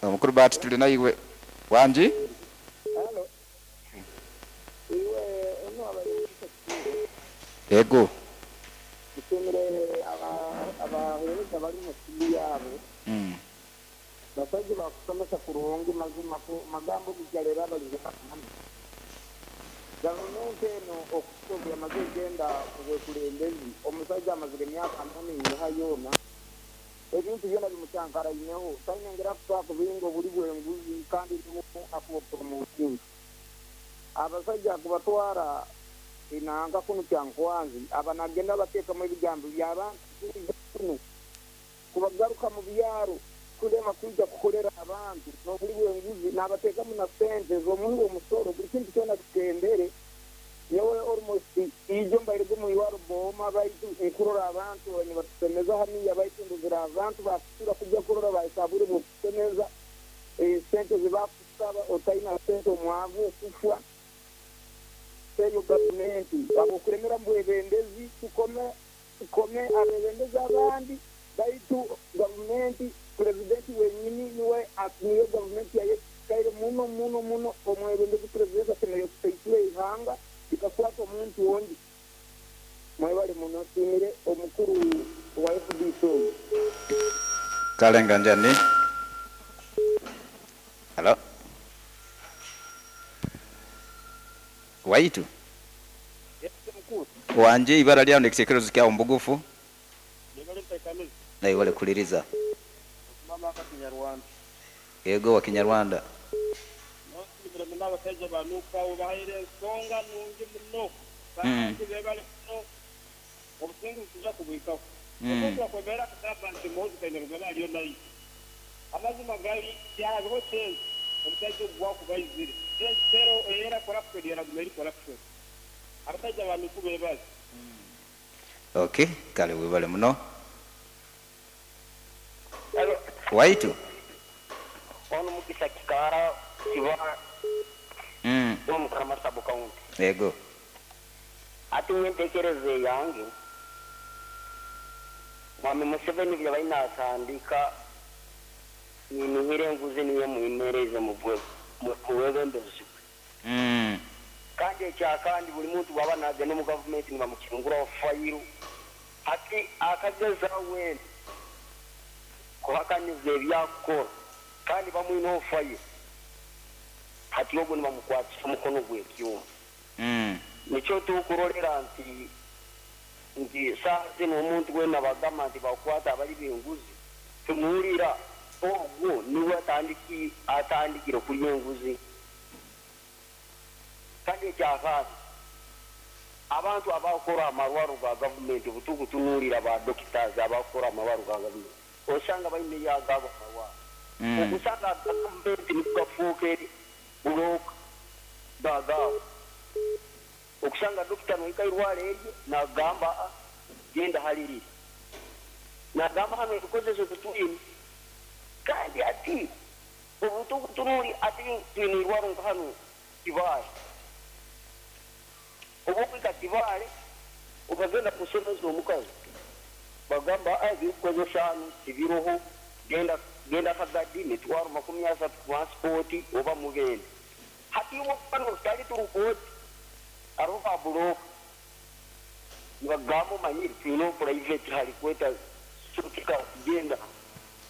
Omukuru Bahati tuli naiwe. Wangi? Halo. Iwe ono abaire Mugisa Kituuro. Ego. Nsiimire abahereza abali mu studio abo. Basaija bakusomesa kurungi mazima ku magambo gigalera abalize hanu. Gavumenti eno okuhika obu yamaze egenda ku bwekulembezi, omusaija amazire emyaka ana neinyiha yoona, ebintu byona bimucankaraineho. Taine ngeri akusobola kubinga obuli bw'enguzi kandi niwe akubupromotinga. Abasaija kubatwara enanka kunu Kyankwanzi, aba nagenda abatekamu ebigambo by'abantu kwija kunu kubagaruka mu byaro kulema kwija kukolera abantu n'obuli bw'enguzi nabatekamu na sente z'omuhi w'omusolo buli kintu kyona kikendere. Nyowe almost ijo mbairege omu irwaro Booma baitu nkurora abantu nibatusemeza haniya baitu ndozere abantu bakusura kujya kurora bahika ha bwire bw'okusemeza sente zibakusaba otaina sente omwavu okufwa. Eyo gavumenti habw'okulemera mu bwebembezi tukome tukome abebembezi abandi baitu gavumenti purezidenti wenyini niwe niyo gavumenti yayekaire muno muno muno omwebembezi purezidenti asemeriire kusaisura eihanga likakwata omuntu ondi. Mwebale muno nsiimire omukuru wa fdc ogu. Kale nga njani. Halo. Waitu. Yes mukuru. Wangi ibara lyawo nekitekerezo kyawo mubugufu. Yebale ntekaniza. Nawe webale kuliriza. Okumama aka Kinyarwanda. Ego wa Kinyarwanda. Nosiimire muno abasaija ba Nup abo bahaire ensonga nungi muno kandi bebale muno obusinguzi nituja kubwikaho. Omuntu akwemera akagamba nti Muhoozi Kainerugaba aliyo naija. Amazima gari tihariho change omusaija ogu bwakuba aizire. Change tero era corruption eraguma eri corruption. Abasaija ba Nup bebale. Ok kale webale muno. Waitu. Ono Mugisa Kikaara Kiba omu Karama Sub County. Ego. Hati nyowe entekereza eyange, Mwami Museveni byabaire natandika ninihira enguzi niyo emwimererize mu bwebembezi bwe. Kandi ekyakandi buli muntu bwaba nagenda omu gavumenti nibamukinguraho fayiro. Hati akagezaho weena kuhakaniza ebyakukora kandi bamwineho fayiro. Hati ogwo nibamukwatisa omukono gw'ekyoma. Nikyo tukurorera nti nti saaha zinu omuntu weena bagamba nti bakwata abali b'enguzi, tumuhurira ogwo niwe atandikire kulya enguzi. Kandi ekyakabi, abantu abakora amarwaro ga gavumenti obutukutunuulira ba doctors abakora amarwaro ga gavumenti osanga baine yagabo amarwaro. Okusanga gavumenti nikugafuuka eri buroka gagabo. Okusanga dokita nohika irwaro erye nagamba genda halirire. Nagamba hano ebikozeso tutwine. Kandi ati obutukutunuuli ati twine irwaro nka hano Kibaale. Obwokwika Kibaale okagenda kusemeza omukazi bagamba ebikukozesa hano tibiroho genda genda Kagadi mitwaro 30 transport oba mugende. Hati iwe tutali turukoti aroho ba buroka nibagamba omanyire twine private hali kweta sutika kugenda.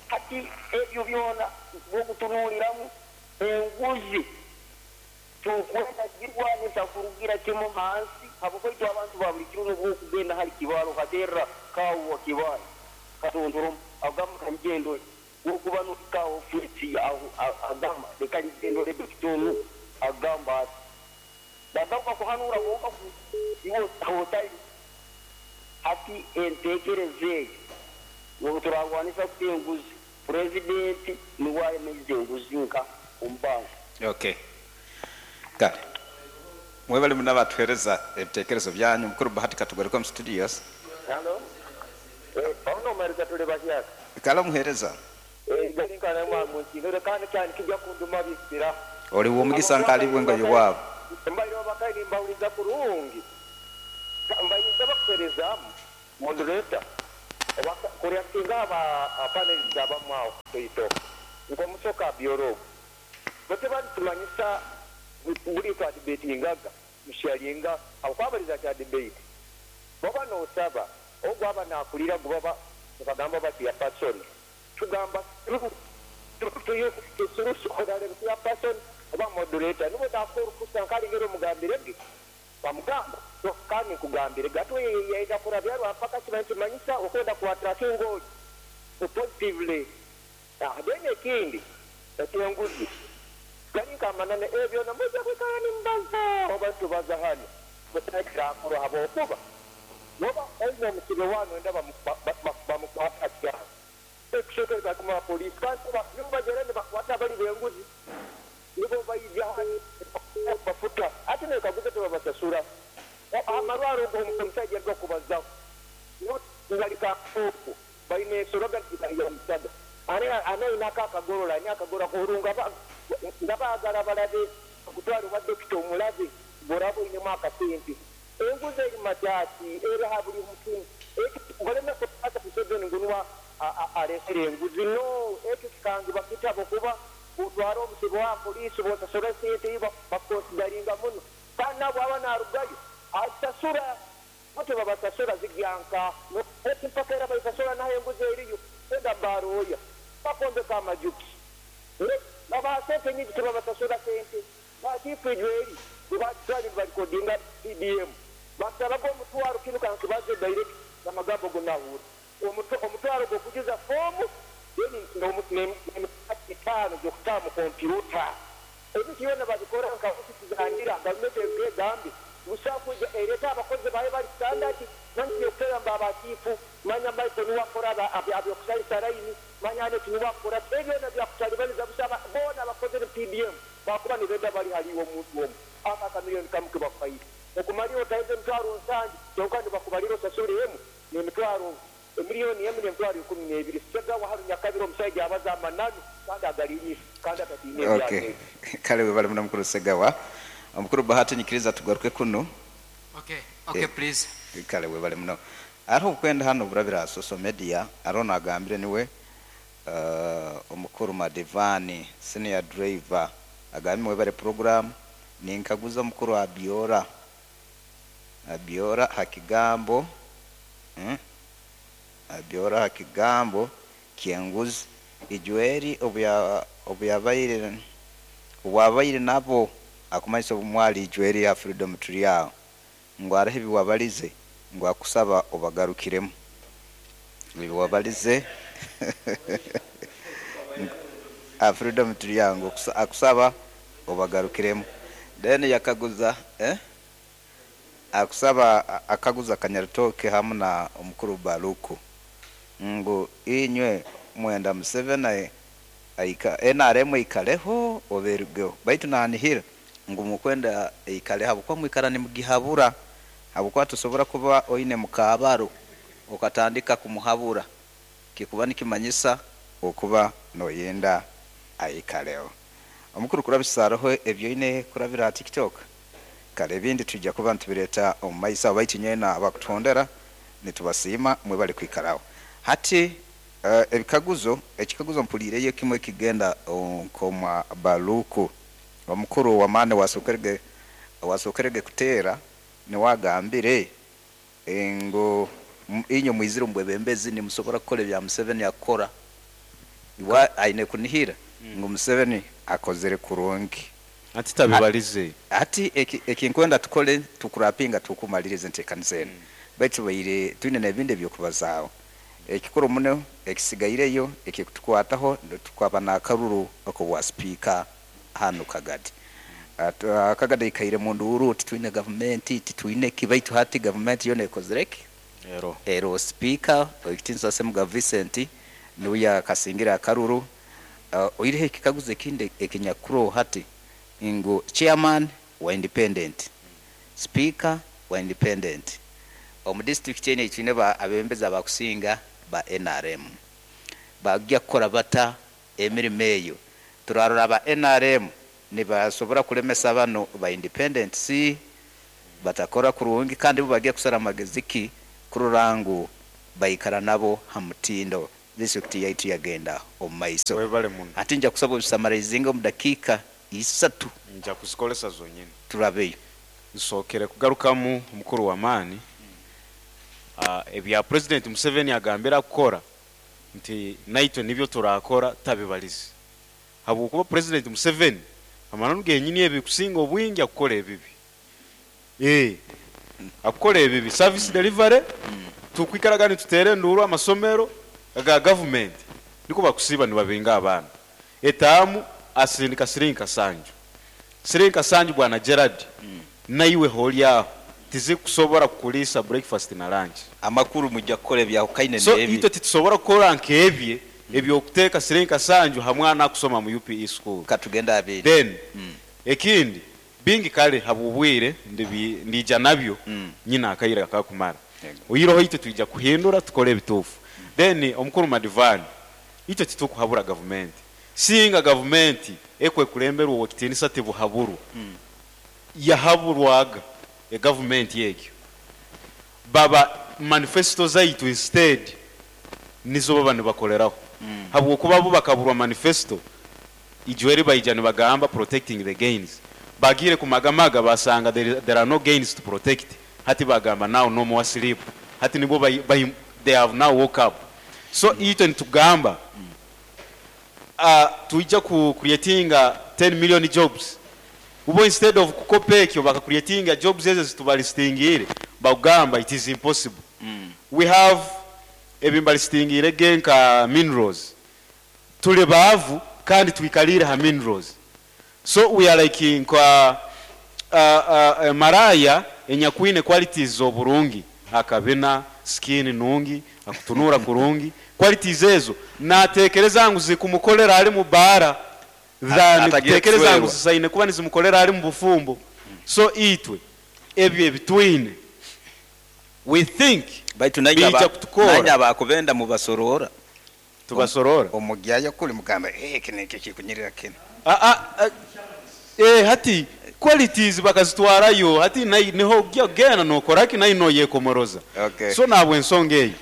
Hati ebyo byona bwokutunuuliramu enguzi tukwenda girwanisa kurugira kimu hansi habwokwaitu abantu ba buli kiro nobwokugenda hali Kibaale okaterra kawa Kibaale katontoromu agamba kanjendo wokuba nohika ofisi agamba leka ngendo dokita onu agamba ati bagaruka kuhanura bonka iwe otali. Hati entekereza eyo obu turarwanisa kuta enguzi purezidenti niwe ayemeize enguzi nka omu bantu. Okay. Kale. Mwebale muno abatuhereza ebitekerezo byanyu. Mukuru Bahati katugaruka mu studios. Hello. Ono omuhereza tuli bahyaka. Kale omuhereza. Gali nkana mwangu kandi cyane kijya kunduma bisira. Oli w'omugisa nkalibwe nga yowabo. Mbaire bakaini mbawuliza kurungi. Mbayinza bakuherezamu moderator. Kulya singa aba panelists abamu awo kuito. Nk'omusoka byorobo. Bo tebalitumanyisa buli twadebatingaga musharinga akwabaliza kya debate. Baba nosaba ogwo aba nakulira gubaba bakagamba bati ya person. Tugamba ya person oba moderator nibo nakora kusa nkali ngero mugambirege. Bamugamba kandi nkugambire gatwe yaida kurabyarwa mpaka kiba kimanyisa okwenda kuattractinga oyo positively. Then ekindi ekyenguzi gali nkamanane ebyo namuja kwikara nimbaza oba tubaza hano butakirakorwa habwokuba noba oine omusibe wano enda bamukwata kyano ekushoka bakuma polisi kandi nibo bagera nibakwata bali benguzi nibo baija bafuta ate nekaguza tebabasasura amarwaro omusajja gakubazaho ngalika oku baine ensoroga ya musaga anainako akagorola ani akagora kurunga nga baagala balabe okutwala oba dokita omulabe ng'olaba oinemu akasente enguzi eri makyaki era ha buli mutu ngoleme kukwata Museveni ngunwa alesere enguzi no ekyo kikangibwa kitabo kuba otwara omusibe wa poliisi bwosasura sente bakonsidaringa muno kandi nabo aba narugayo asasura bote babasasura zigyanka mpaka era baisasura naho enguzi eriyo enda baroya bakombeka amajuki babaha sente nyingi tebabasasura sente bakifijweri batwali balikodinga PDM basabaga omutwaro kinu kankibaze direct amagambo gonahura omutwaro gwokujuza fomu then etaano gyokutaa mu kompyuta ebintu byona babikora nka ofisi zangira gavumenti egambe busakuja ereta abakozi bayo bali standard manya okutera mba abakiifu manya Michael niwakora abyokusalisa layini manya Anet niwakora ebyona byakutalibaniza busaba boona abakozi ne PDM bakuba nibenda bali haliwo omuntu omu aka akamiliyoni kamu kebakuhaire okumalira otaize emitwaro nsangi kyonka nibakubalira osasule emu n'emitwaro emiliyoni emu n'emitwaro 12 Segawa haru Nyakabiro omusajja abaza amananu kandi agalinyisa kandi atatiine Okay. Kale webale muno mukuru Segawa. Omukuru Bahati nyikiriza tugaruke kuno. Okay, okay, please. Kale webale muno. Ariho okwenda hano burabira social media ariho nagambire niwe omukuru Madivani senior driver agambye webale program ninkaguza omukuru Abiora Hakigambo Abiora Hakigambo kyenguzi ijweri obuyabaire obwabaire nabo akumanyisa obumwali ijweri ya Freedom Trial ngo arahe biwabalize ngo akusaba obagarukiremu biwabalize Freedom Trial ngo akusaba obagarukiremu then yakaguza akusaba akaguza Kanyaritoke hamwe na omukuru Baluku ngo inywe mwenda Museveni aika NRM ikaleho oberugeho baitu nanihira ngo mukwenda ikaleho habukwa mwikara nimugihabura habukwa tusobora kuba oine mukabaro okatandika kumuhabura kikuba nikimanyisa okuba noyenda aikaleho. Omukuru kurabisa ebyo ine kurabira TikTok kale ebindi tujja kuba ntubireta omu maiso baitu nyena abakutondera nitubasiima mwe bali kwikaraho. Hati ebikaguzo ekikaguzo mpulireyo kimwe kigenda nkoma Baluku omukuru wa mane wasokerege kutera niwagambire ngo inyo mwizire mbwebembezi nimusobora kukora ebya Museveni akora iwa aine kunihira ngo Museveni akozere kurungi ati tabibalize ati ekinkwenda tukole tukurapinga tukumalirize ntekanisa eno baitu baire twine nebindi ebyokubazaaho ekikuru muno ekisigaireyo ekikutukwataho tukwaba nakaruru okubwa speaker hano Kagadi. Kagadi ikaire mundu uru titwine gavumenti titwine kibaitu hati gavumenti yona ekozereki ero speaker oikitinsa Semuga Vincent niwe kasingira akaruru. Oirehe ekikaguzo ekindi ekinyakuro hati ngo chairman wa independent, speaker wa independent omu district ene twine ba abembeza bakusinga ba NRM bagya kukora bata emirimo eyo turarora ba NRM nibasobora kulemesa bano ba independent si batakora kurungi kandi bo bagiye kusara amagezi ki kururangu baikara nabo hamutindo. Disitulikiti yaitu yagenda omu maiso. Webale muno. Hati nja kusaba obisamaraizinge omu dakiika isatu. Nja kuzikolesa zonyini. Turabeyo. Nsookere kugarukamu omukuru w'amaani, ebya President Museveni agambire akukora nti naitwe nibyo turakora tabibalize. Habwokuba President Museveni amananu genyini ebikusinga obwingi akukora ebibi. Akukora ebibi. Service delivery, tukwikaraga nituteera enduuru amasomero aga government nikwo bakusiiba nibabinga abaana. Etaamu asindika siringi kasanju. Siringi kasanju Bwana Gerald naiwe holi aho tizikusobora kukuliisa breakfast na lunch. Amakuru mwija kukora ebyahukaine So n'ebye. itwe titusobora kukora nk'ebye eby'okuteeka siringi kasanju ha mwana akusoma mu UPE school. Katugende abiri. Then ekindi bingi kale habw'obwire ndiija nabyo nyine akaire akakumara. Oihireho itwe twija kuhindura tukore ebituufu. Then omukuru Madivani itwe titukuhabura gavumenti. Singa gavumenti ekwekulemberwa ow'ekitiinisa tibuhaburwa, yahaburwaga egavumenti egyo. Baba manifesto zaitu instead nizo baba nibakoleraho. Habwokuba bo bakaburwa manifesto, ijweri baija nibagamba protecting the gains. Bagiire kumagamaga basanga there are no gains to protect. Hati bagamba now no more sleep. Hati nibo they have now woke up. So itwe nitugamba, tuija ku creatinga 10 million jobs. Ubo instead of kukopa ekyo baka creatinga jobs ezo zitubalistingire, bagamba it is impossible. We have ebimbalistingire genka minerals. Tuli baavu kandi twikalire ha minerals. So we are like nka maraya enyakwine qualities z'oburungi, akabina skin nungi, akutunura kurungi, qualities ezo natekereza ngu zikumukolera ali mu bara than Atagiye kutekereza ngu kuswerwa. zisaine kuba nizimukolera ali mu bufumbo. So itwe ebyo ebitwine we think Baitu bija kutukora. nanye abakubenda mubasorora. Tubasorora. Omugyayo kuli mugamba, kino nikyo kikunyirira kino. Hati qualities bakazitwarayo, hati niho gena nokoraki nayo noyekomoroza. So nabwe ensonga eyo.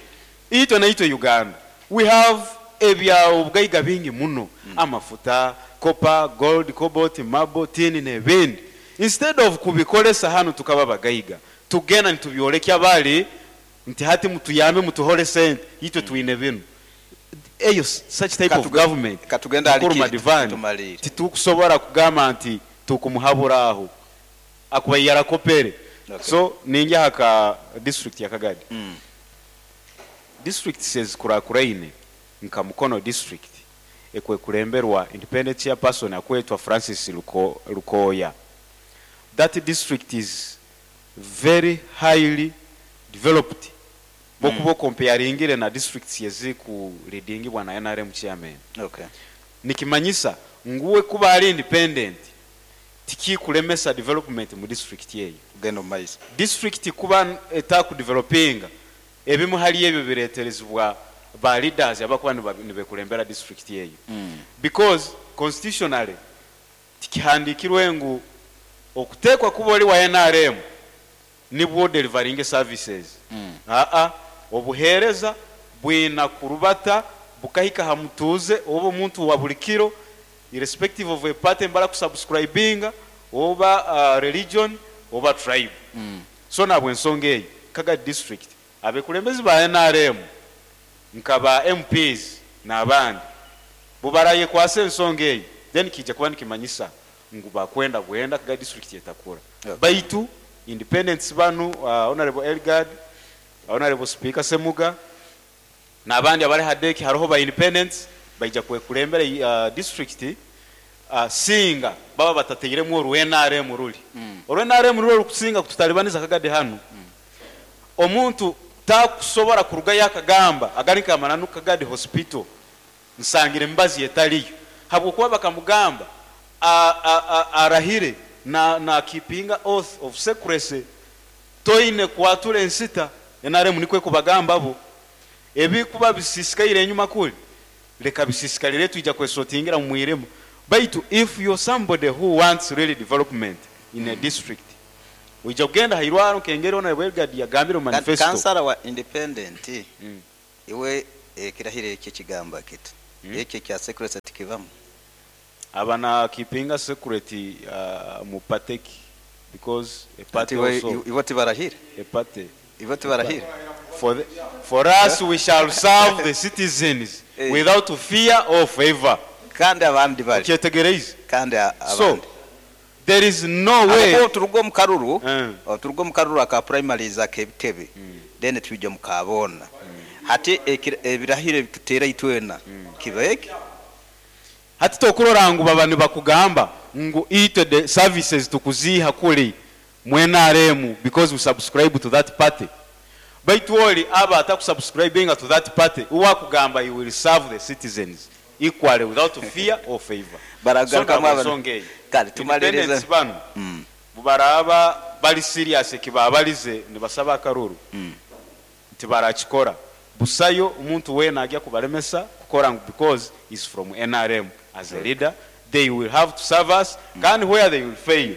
Itwe naitwe Uganda we have ebya obugaiga bingi muno. Amafuta, copper, gold, cobalt, marble, tin n'ebindi. Instead of kubikolesa hano tukaba bagaiga, tugenda nitubyolekya bali nti hati mutuyambe mutuhole sente, itwe twine bino. Eyo such type of government Katugenda Mukuru alikiri, Madivani, tumalire. titukusobora kugamba nti tukumuhabura aho akuba yarakopere. So ninja haka district ya Kagadi. District says kurakuraine nka Mukono district ekwe kulemberwa independent chairperson akwetwa Francis Lukoya. That district is very highly developed. Bokubo comparingire na districts yeziku leadingibwa na NRM chairman. Nikimanyisa nguwe kuba ali independent tikikulemesa development mu district yeyo. Gendo maiso. District kuba etaku developinga ebimu hali ebyo bireterezibwa ba leaders abakuba nibekulembera district yeyo. Because constitutionally tikihandikirwe ngu okutekwa kuba oli wa NRM nibwo delivering services. Obuhereza bwina kurubata bukahika hamutuze oba omuntu wa buli kiro irrespective of a party mbala kusubscribinga oba religion oba tribe. So nabwe ensonga eyo Kaga district abekulembezi ba NRM nka ba MPs n'abandi bubaraye kwasa ensonga eyo then kijja kuba nikimanyisa ngu bakwenda bwenda Kaga district yetakura. Baitu independence banu Honorable Elgard, Honorable Speaker Semuga n'abandi abari hadeki hariho ba independence baija kwekulembera district singa baba batateiremu oru NRM ruli. Oru NRM ruli rukusinga kututalibaniza Kagadi hano. Omuntu takusobora kuruga yakagamba agari kamananu Kagadi hospital nsangire mbazi etaliyo habwokuba bakamugamba arahire na keepinga oath of secrecy toine kwatura ensita NRM nikwe kubagamba bo ebikuba bisisikaire enyuma kuli leka bisisikalire tuija kwesotingira mu mwiremo. Baitu if you're somebody who wants really development in a district uija kugenda hairwaro kengere ona Elgard yagambire mu manifesto. Kansala wa independent iwe Ekirahiro ekyo kigamba kiti? Ekyo ekya secrecy tikibamu? Aba na keepinga secret mu party ki because a party also Ibo tibarahire? A party. Ibo tibarahire? For us, we shall serve the citizens without fear or favor. Kandi abandi bari Okyetegereize? Kandi So abandi there is no way. Aho turuga omu karuru, turuga omu karuru aka primaries ak'ebitebe, then twija omu kaboona. Hati ebirahiro ebituteera itwena kiba eki. Hati tokurora ngu baba nibakugamba ngu itwe the services tukuziiha kuli mu NRM because we subscribe to that party. Baitu oli aba atakusubscribinga to that party, uwe akugamba he will serve the citizens equally without fear or favor. So Baragarukamu ntabwo ensonga eyo. Kale tumalirize. Independents banu bubaraba bali serious ekibabalize nibasaba akaruru nti barakikora, busayo omuntu weena agya kubalemesa kukora ngu because is from NRM. As a leader, they will have to serve us. Kandi where they will fail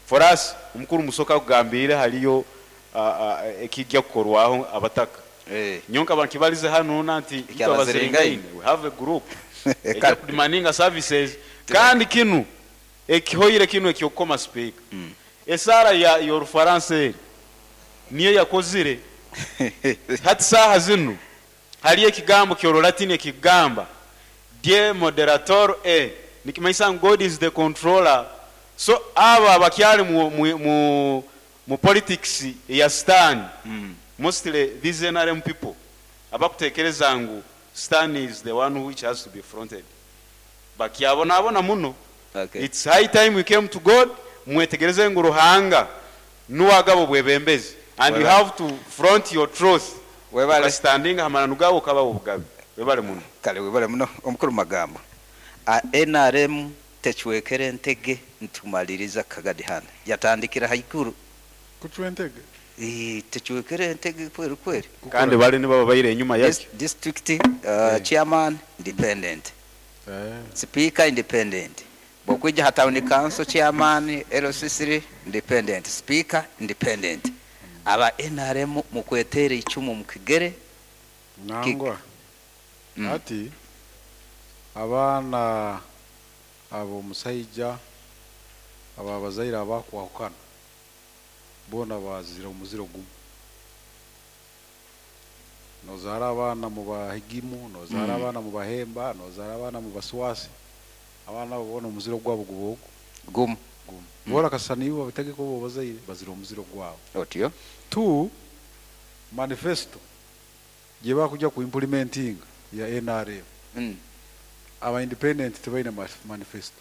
for us, omukuru Musoka akugambire haliyo ekijja kukorwaho abataka. Nyonka bankibalize hanu na nti itwe Ekyabaziringaine. Abaziringaine, we have a group ejja kudemandinga services. Kandi kinu ekihoire kinu ekyokukoma speaker, esara ya yorufaransa eri niyo yakozire. Hati saaha zinu haliyo ekigambo ky'Orulatini ekigamba "Dieu moderator e", nikimanyisa ngu God is the controller. So abo abakyali mu politics eya stan, mostly these NRM people abakutekereza ngu stan is the one which has to be fronted, bakyabonabona muno. It's high time we came to God. Mwetegereze ngu Ruhanga nuwagaba obwebembezi and you Webale. have to front your truth. Webale. Ukastandinga hamananu gawe ukaba obugabe. Webale muno. Kale webale muno, omukuru Magambo. A NRM techwekere entege ntumaliriza kagadi hana yatandikira haiguru. Kucwa entege? Techwekere entege kweri kweri. Kandi bali nibaba baire enyuma yakyo. District chairman independent, speaker independent, bwokwija ha town council chairman, LC3 independent, speaker independent. Aba NRM mukwetere icumu mukigere. Nangwa ati abaana abo omusaija abo abazaire abakwahukana boona bazira omuziro gumu. Nozaara abaana mu Bahigimu, nozaara abaana mu Bahemba, nozaara abaana mu Baswasi, abaana abo boona omuziro gwabo guba ogu gumu. Gumu. Boona kasana ibo babitegeka obo bazaire bazira omuziro gwabo. Otyo. Two, manifesto gye bakujja ku implementing ya NRM, aba independent tebalina manifesto.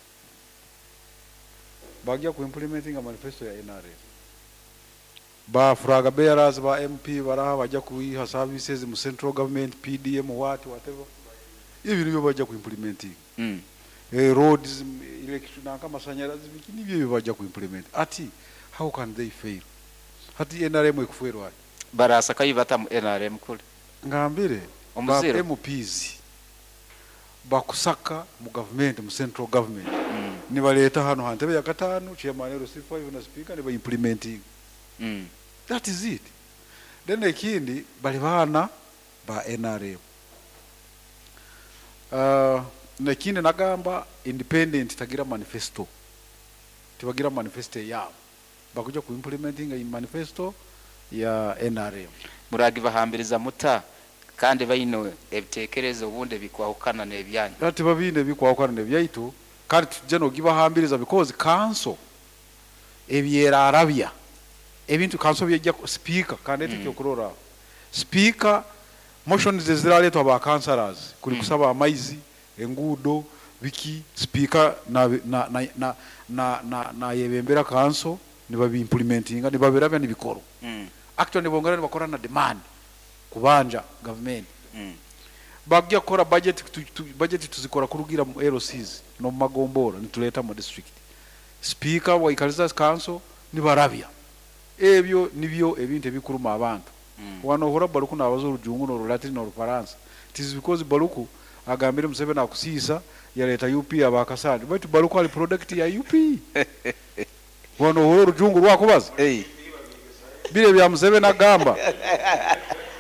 Bajja ku implementing manifesto ya NRM, ba flag bearers ba MP baraha bajja kuiha services mu central government, PDM, what, whatever, ibyo nibyo bajja ku implementing. Roads, electric nanka amasanyalazi, biki, nibyo ebyo bajja ku implement. Ati how can they fail? Hati NRM ekuferwa. Barasa kayibata mu NRM kule. Ngambire ba Omuziro. MPs bakusaka mu government, mu central government, nibaleeta hano hantebe ya katano, chairman LC5 na speaker, niba implementing. That is it. Then ekindi, bali baana ba NRM. Nekindi nagamba, independent tagira manifesto, tibagira manifesto yabo, bakuja ku implementing in manifesto ya NRM. Muragibahambiriza muta kandi baino ebitekerezo obundi bikwahukana n'ebyanyu? Ati babine bikwahukana nebyaitu, kandi tujja nogibahambiriza because council ebyerarabya ebintu, council byejja speaker kandi ekyokurora speaker, motions eziraletwa ba councillors kuli kusaba amaizi, enguudo, biki, speaker na na na na na, na, na yebembera council, nibabiimplementinga, nibabirabya nibikoro. Actually nibongera nibakora na demand kubanja government. Bajja kukora budget, budget tuzikora kurugira mu LCs no mu magombora, nituleta mu district. Speaker waikaliza council, nibarabya ebyo, nibyo ebintu ebikuruma abantu. Wano ohora Baluku nabaza Orujungu n'Orulatini n'Orufaransa. It is because Baluku agambire Museveni akusiisa yaleeta UP abakasandi, baitu Baluku ali product ya UP. Wano ohora Orujungu rwakubaza bire bya Museveni agamba,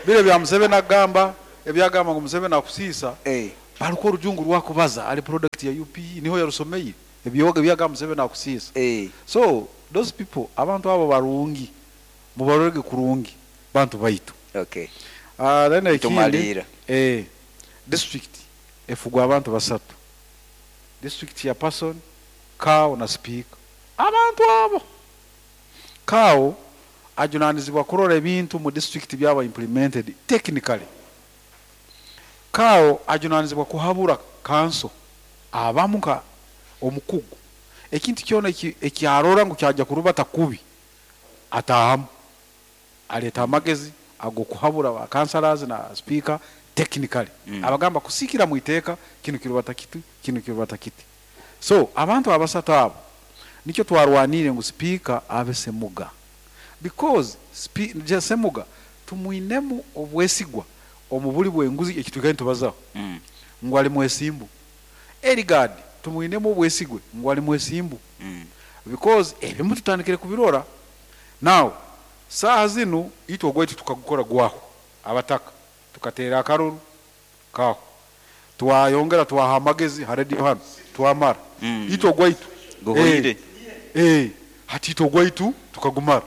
bire bya Museveni agamba. Ebyagamba ngu Museveni akusiisa, baruka orujungu rwakubaza ali product ya UPE, niho yarusomeire ebyoga ebyagamba Museveni akusiisa. So those people, abantu abo barungi, mubarorege kurungi, bantu baitu. Then ekindi, Tumaliira. District efugwa abantu basatu, district chairperson, CAO na speaker. Abantu abo, CAO ajunanizibwa kurora ebintu mu district byaba implemented technically. CAO ajunanizibwa kuhabura council abamu nka omukugu, ekintu kyona ekyarora ngu kyajja kurubata kubi atahamu, aleeta amagezi agokuhabura ba councillors na speaker technically. Abagamba kusikira mu iteeka kinu kirubata kiti, kinu kirubata kiti. So abantu abasatu abo nikyo twarwanire ngu speaker abe Semuga, because Semuga tumwinemu obwesigwa omu buli bwenguzi ekitwikaire nitubazaho, ngu ali mwesimbu. Eligard tumwinemu obwesigwe ngu ali mwesimbu, because ebimu tutandikire kubirora. Now saaha zinu itwe ogwaitu tukagukora gwaho, abataka tukateera akaruru kaho, twayongera twaha amagezi ha radio hano, twamara. Itwe ogwaitu Guhwire. Hati itwe ogwaitu tukagumara,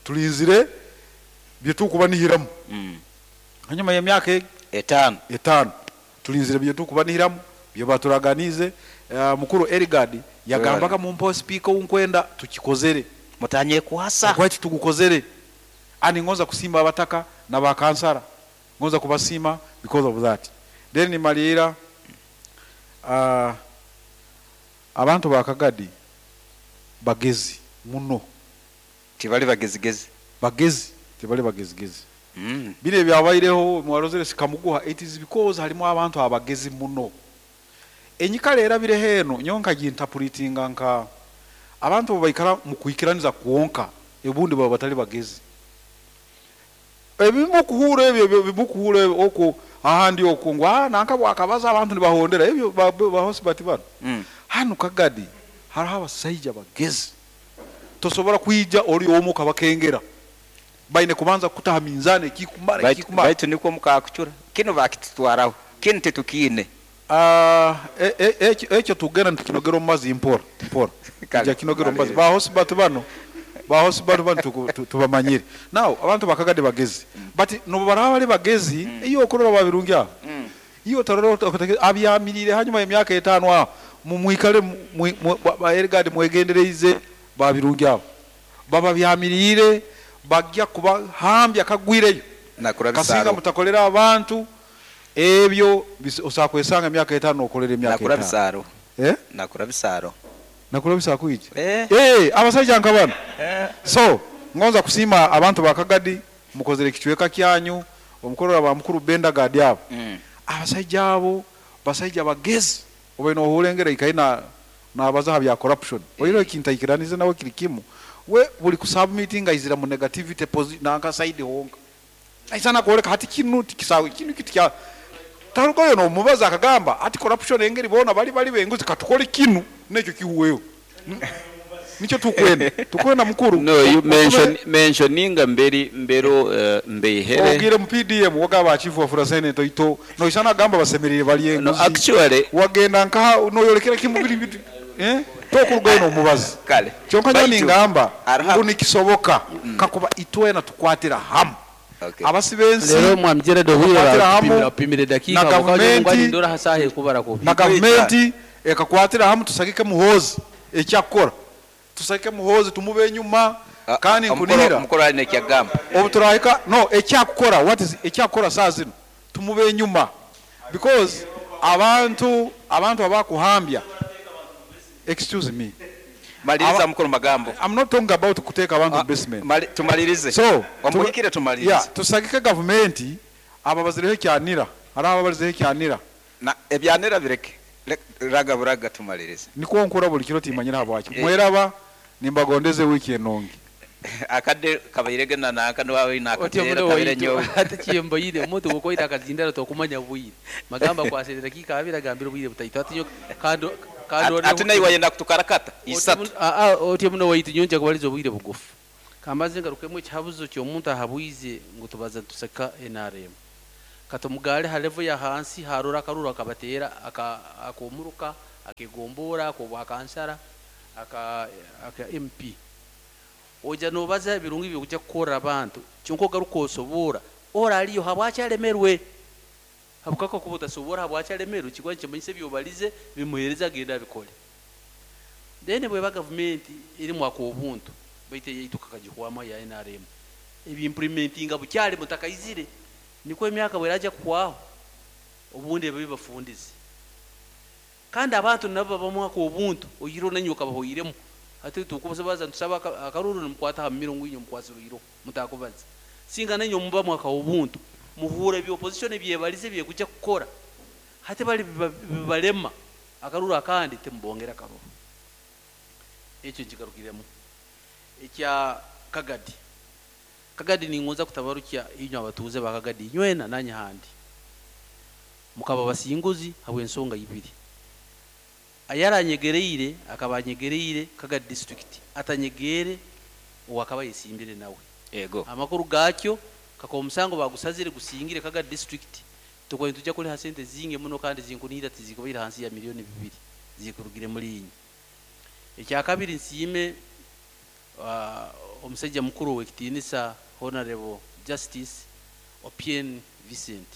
tulinzire byetukubanihiramu. Hanyuma y'emyaka 5. 5 tulinzire byetukubanihiramu byebaturaganize. Mukuru Eligard yagambaga mumpo speaker unkwenda tukikozere, mutanye kwasa kwaki tugukozere. Ani ngonza kusimba abataka na bakansara, ngonza kubasima because of that. Then nimalira, abantu bakagadi bagezi muno, tibali bagezigezi, bagezi tibali bagezigezi. Bire byabaireho mwarozere sikamuguha, it is because halimu abantu abagezi muno. Enyikala erabire heno nyonka gintapulitinga nka abantu baikara mu kuikiraniza kuonka ebundi baba batali bagezi. Ebimu kuhura ebyo, ebyo bimu kuhura ebyo, oko ahandi oko ngo, nanka bwakabaza abantu nibahondera ebyo ba hosibati bano. Hano Kagadi hariho abasajja bagezi, tosobola kwija oli omu kabakengera, baine kubanza kutaha minzani ekikumara, ekikumara. Baitu nikwo mukakucura kino bakitutwaraho kino tetukine. Ekyo tugenda nitukinogera omu mazi mpora mpora. Kale. Ija kinogera omu mazi. Kale. Bahosibati bano, bahosibati bano tubamanyire. Now abantu bakagadi bagezi, but nobu baraba bali bagezi, iyo okurora babirungi aho. Iyo tarora abyamirire hanyuma y'emyaka 5 aho mumwikale ba Eligard mwegendereize babirungi aho. Baba byamirire bajya kubahambya kagwireyo. Nakura Kasinga bisaro. mutakolera abantu ebyo osakwesanga emyaka 5 okolera emyaka Nakura 5. bisaro. Nakura bisaro. Nakura bisaro kuija. Abasajja nka bano. So ngonza kusima abantu bakagadi mukozere kichweka kyanyu omukorera ba mukuru Benda Gadi abo. Abasajja abo basajja bagezi obe no hulengera ikaina nabaza bya corruption. Oyiro ekintaikiranize nawe kiri kimu. We buli kusubmitting aizira mu negativity nanka side honka. Aisana kuoleka hati kinu tikisawe kinu kitu kya tarugoyo no mubaza akagamba ati corruption engeri bona bali bali benguzi katukole kinu nekyo kihuweyo. Nicho tukwenda. Tukwenda mukuru. No, you mentioninga mberi mbero mbehere. Ogire mu PDM wagaba chief wa Furasene toito. No isana gamba basemerere bali enguzi. No, actually wagenda nka no yolekera kimubiri bitu. Tokurugayo no mubazi. Kale. Kyonka nyo Baitu, ningamba arha- ngu nikisoboka kakuba itwena tukwatira hamu. Abasibensi Lero mwamjere do huyo tukwatira hamu upimire dakika na wakaje gavumenti ngwani ndora hasahe kubara ko. Na gavumenti ekakwatira hamu tusagike Muhozi ekyakora. Tusagike Muhozi tumube enyuma kandi nkunihira. Omukoro ali nekyagamba. Obuturahika no ekyakora what is ekyakora saa zino tumube enyuma because abantu abakuhambya. Excuse me. Maliriza mukuru magambo. I'm not talking about kuteka abantu basement. Tumalirize. So, Omuhikire tumalirize. Yeah, tusagike gavumenti aba bazireho kyanira. Hari aba bazireho kyanira. Na ebyanira bireke. Raga buraga tumalirize. Niko nkora buli kiro timanyira habwaki. Mweraba nimbagondeze wiki enongi. Akadde kabairege na naka nwawe Otyo nakatera muno kabire waitu, nyowe. ate kiyemboyire omuntu bw'okwita akazindaro tokumanya bwire. Magamba kwasere dakika abiri agambire obwire butaito. Ate nyo kando kando Ate naye wayenda kutukarakata isatu. Otyo muno waitu nyonja kubaliza obwire bugufu. Kambaze ngarukemu ekihabuzo ky'omuntu ahabwize ngu tubaza tuseka NRM. Katumugale ha level ya hansi harora akaruru akabatera akomuruka akegombora akobwa kansara aka MP. Oja nobaza ebirungi byokujja kukora abantu kyonka ogaruka osobora ora aliyo habwakyalemerwe habukaka kuba otasobora habwakyalemerwe kigwa nikimanyisa ebyobalize bimuhereza agenda abikole. Then bweba gavumenti erimu ak'obuntu baitu eyaitu kakagihwamu ya NRM ebiimplementinga bukyali mutakaizire nikwo emyaka bweraja kuhwaho obundi ebyo bibafundize. Kandi abantu nabo babamu ak'obuntu oiro nanywe okabahoiremu hati tukubaza ntusaba akaruru nimukwata ha mumiro ngu inywe mukwasirwe mutakubaza singa nanywe mubamu ak'obuntu muhura ebyo opposition ebyebalize byekujja kukora hati bali bibalema akaruru akandi timubongera akaruru. Ekyo nkigarukiremu ekya Kagadi. Kagadi ningonza kutabarukya inywe abatuuze ba Kagadi nywena nanye handi mukaba basinguzi habw'ensonga ibiri. Ayaranyegereire akaba anyegereire Kagadi district atanyegere owakaba yesimbire nawe. Ego. Amakuru gakyo kaka omusango bagusazire gusingire Kagadi district tukwa tujja kuliha sente zinge muno kandi zinkunira tizikubaira hansi ya milioni 2 zikurugire muri inyi. Ekya kabiri nsiime omusajja mukuru w'ekitiinisa Honorable Justice Opien Vincent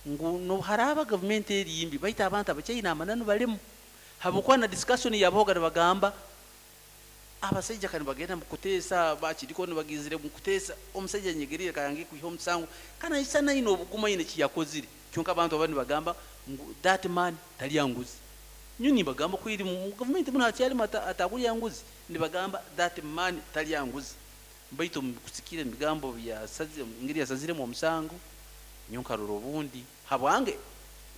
ngu no haraba gavumenti erimbi baita abantu abakyaina amananu balimu habwokuba na discussion yaboga nibagamba abasajja kani bagenda mukutesa bakiriko nibagizire mukutesa omusajja nyegerire kayange kwiha omusango kana isa naino obuguma ine kiyakozire kyonka abantu abandi bagamba ngu that man talyanguzi nyuni bagamba kwiri mu gavumenti muno akyali atakulya nguzi nibagamba that man talyanguzi baitu mukusikira emigambo bya engeri yasaziremu omusango nyonkarura obundi habwange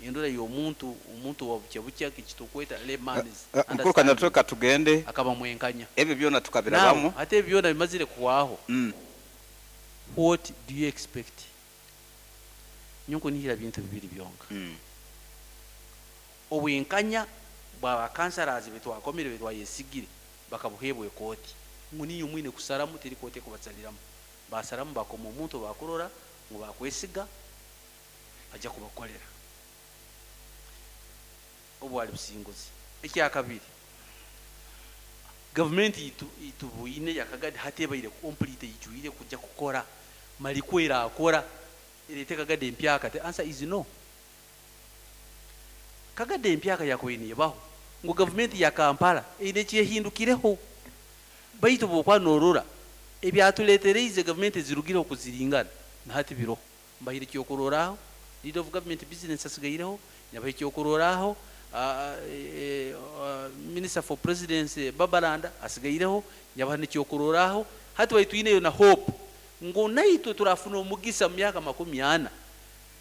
endura y'omuntu omuntu wa bukya bukya kitukweta layman's Mukuru Kanyarutooke tugende akaba mwenkanya ebyo byona tukabirabamu ate ebyo byona bimazire kuwaho. What do you expect? Nyonko nihira bintu bibiri byonka. Obwenkanya bwa kansarazi betwakomire betwayesigire bakabuhebwe kooti ngu niyo mwine kusaramu teri kooti kubasaliramu basaramu bakoma omuntu bakurora ngu bakwesiga ajja kubakolera obwali businguzi. Ekya kabiri gavumenti itubuine yakagadi hatebaire complete ijuire kujja kukora malikwera akora erete Kagadi empyaka the answer is no. Kagadi empyaka yakoyiniye baho ngu gavumenti ya Kampala eine kyehindukireho baitu bwokwa norora ebyatuletereize gavumenti zirugire okuziringana nahati biro mbahire kyokuroraho leader of government business asigaireho nyabahe kyokuroraho minister for presidency Babalanda asigaireho nyabaha nekyokuroraho hati baituineyo na hope ngu naitwe turafuna omugisa mu myaka 40